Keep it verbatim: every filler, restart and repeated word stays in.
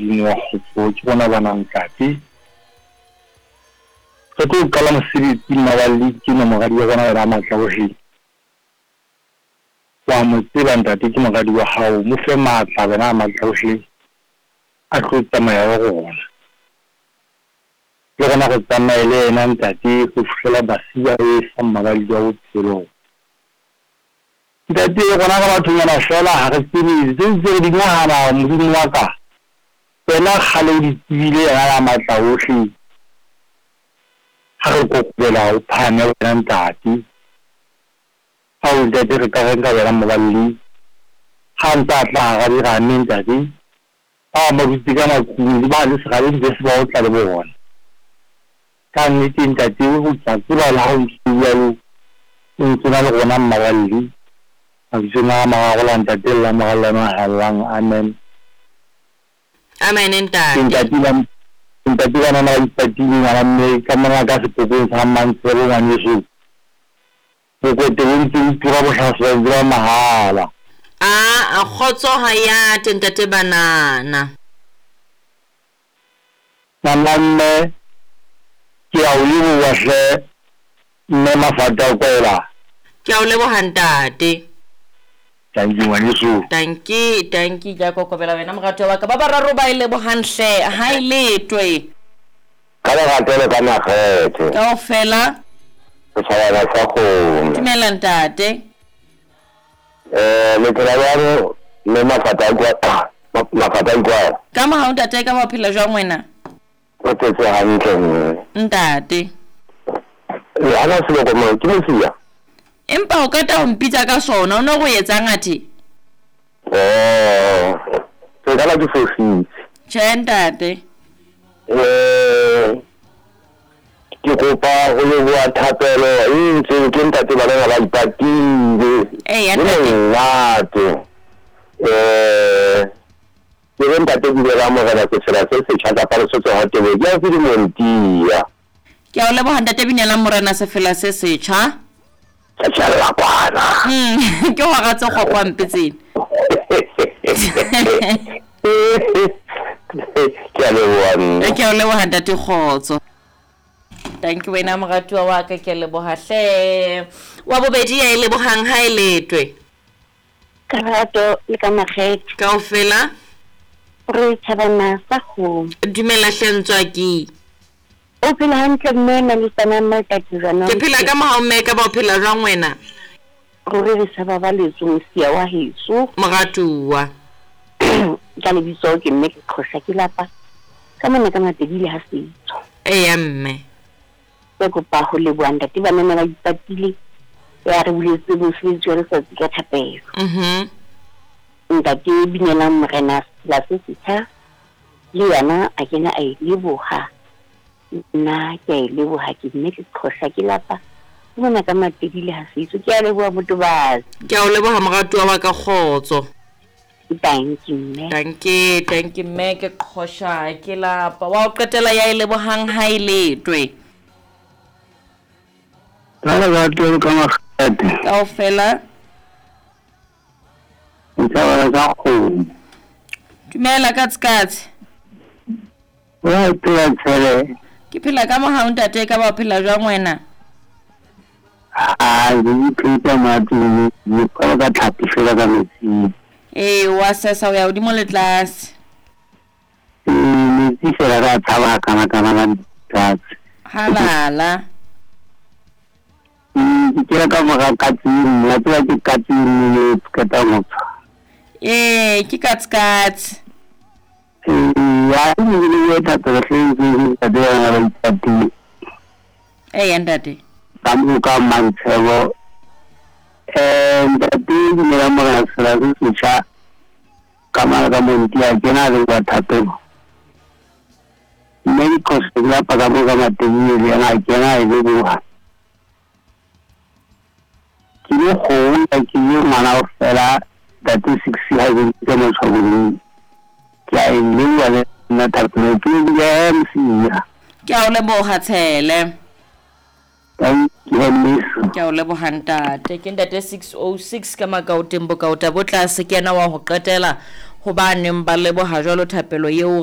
Modimo wa kgotso, ke bona bana ntate. Re tlo qala mosebetsi mmaballi ke na moradi wa rona wena matla ohle. Wa mo tseba ntate ke moradi wa hao, mo fe matla wena matla ohle a tlo tsamaya le rona. Le rona re tsamaye le yena ntate ho fihlela basiba e fa mmaballi wa bophelo. Ntate rona re bathonyana fela ha re tsebe tse ntse re di nahana Modimo wa ka. Wena kgale o di tsebile yena ya matla ohle. Ha re kokobela o phahame wena ntate. Ao ntate re ka reng ka wena mmaballi. Ha ntse a tla hara dirame ntate. Ba bang ba dutse ka matlung le ba le serabeng be se ba otla le bona. Ka nnete ntate o tla tseba le ha o ntse o jwalo o ntse na le rona mmaballi. Mabitsong a mararo la ntate le la Mora le la Moya o Halalelang. Amen. Amen ntate. Ntate ba ntate ba nana ba ipatile ngwana mme ka mona ka sepokong sa Mmantshebo ngwaneso. Bokwete bo ntse bo tura bohlaswa ntse ba mahala. A kgotso ha ya te ntate banana. Ngwana mme ke a o leboha hle mme Mafata Kwela. Ke a o leboha ntate. Thank you ngwaneso. Tanki, tanki ke a kokobela wena moratuwa wa ka. Ba bararo ba e lebohang hle ha e letwe. Ka lerato le ka makgethe. Kaofela. Setjhabana sa kgomo. Dumela ntate. Eh le phela jwang mme Mafata Kwela? Mafata Kwela. Ka mohau ntate ka ba phela jwang wena? O phetse hantle mme. Ntate. Le hana seloko mo ke mosia. Empa o qeta ho mpitsa ka sona o no go etsang athe? Oh, ke kana ke fositse. Tjhe ntate. Eh ke kopa ho leboha thapelo e ntseng ke ntate ba bana ba ipatile. Eh ya ntate. Ntate. Eh ke re ntate ke la morena ke tsela se setjha kapa le sotso ha tebe ke a ke montia. Ke a o leboha ntate Binelang morena sefela se setjha. Tjhella kwana. Mm, ke hora tse kgopo mpe tsena. Ke a leboha mme. Ke a leboha ntate kgotso. Thank you wena moratuwa wa ka ke a leboha hle. Wa bobedi ya e lebohang ha e letwe. Ka lerato le ka makgethe. Kaofela. Re tjhabana sa kgomo. Dumela hle ntswaki. O phela hantle mme na le tsana matsatsi jwana. Ke phela ka mohau mme ka ba o phela jwang wena? Ruri re sa babaletswe mosia wa heso. Moratuwa. Ka lebitso ke mme ke qhosha ke lapa. Ka mona ka Matebile ha setso. Eya mme. Ke kopa ho leboha ntate ba nna ba ipatile. Ya re buletse mosebetsi wa letsatsi ka thapelo. Mhm. Ntate Binelang morena la se setjha le yena a kena a e leboha. Nna ke a e leboha ke mme ke qhosha ke lapa. Ke mona ka Matebile ha setso. Ke a leboha Motobatsi. Ke a o leboha moratuwa wa ka kgotso. Thank you mme. Thank you, thank you mme ke qhosha ke lapa. Wa o qetela ya e lebohang ha e letwe. Ka lerato le ka makgethe. Kaofela. Setjhabana sa kgomo. Dumela katsikatsi. Wa phela tshele. Ke phela ka mohau ntate ka ba phela jwang wena? Ah, ke ipheta matlung, ke ka tlhapi fela ka metsing. Eh, wa sesa o ya hodimo le tlase. Eh, metsi fela ka tshaba kana kana la tlase. Halala. Ke kira ka mora katsing, la tsela ke katsing le qeta motho. Eh, ke katsikatsi. Eh, ya ke le thapelo hle ke ntate ba ba ipatile. Eh, ntate. Ka mo ka Mmantshebo. Eh, ntate Binelang morena sefela se setjha ka mara ka montia ke na le ba thapelo. Mme ke qhosha ke lapa ka mo ka Matebile le yena a kena e leboha. Ke le kgomo ke le ngwana o fela ntate six ha ke ke motshwaboleng. Ke a e leboha le nna thapelo ke le mosia. Ke a o leboha Tshele. Thank you miss. Ke a o leboha ntate. Ke ntate six oh six ka Makaoteng Bokaota bo tlase ke yena wa ho qetela ho ba neng ba leboha jwalo thapelo eo.